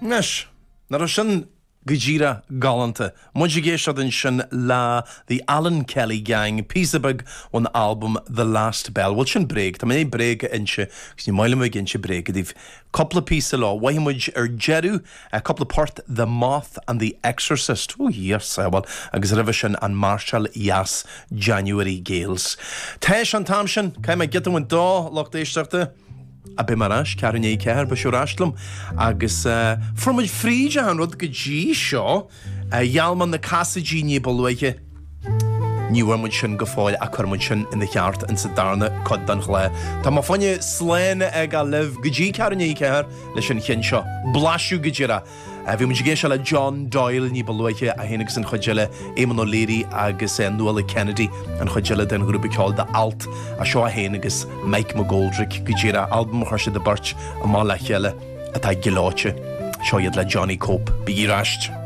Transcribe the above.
Anois, nach raibh sin go díreach galánta? Muid ag éisteacht ansin le The Alan Kelly Gang, píosa beag ón albam The Last Bell. Bhuel, sin bréag, tá mé i ndiaidh bréag a inse agus ní maith liom a bheith ag inse bréige daoibh. Cúpla píosa leo. Mhothaigh muid ar deireadh cúpla port The Moth and the Exorcist, ó Dhia ár sábháil, agus roimhe sin an máirseáil dheas January Gales. Tá sé an t-am sin, caithfidh mé giota a bhaint do lucht éisteachta. A beidh mé ar ais, ceathrú i ndiaidh 4, beidh sibh ar ais liom. Agus fuair muid fríd achan rud go dtí seo. Gheall mé na casaidí ní ba luaithe. Ní bhfuair muid sin go fóill ach cuirfidh muid sin ina cheart insa darna cuid den chlár. Tá mé fá choinne slán a fhágáil libh go dtí ceathrú i ndiaidh 4 leis an cheann seo. Blaiseadh go díreach. Bhí muid ag éisteacht le John Doyle ní ba luaithe, é féin agus an chuid eile, Éamonn O'Leary agus Nuala Kennedy, an chuid eile den ghrúpa ceoil The Alt. Seo é féin agus Mike McGoldrick go díreach, albam a chuir siad a beirt amach le chéile atá gleoite. Seo iad le Johnny Cope. Bígí ar ais.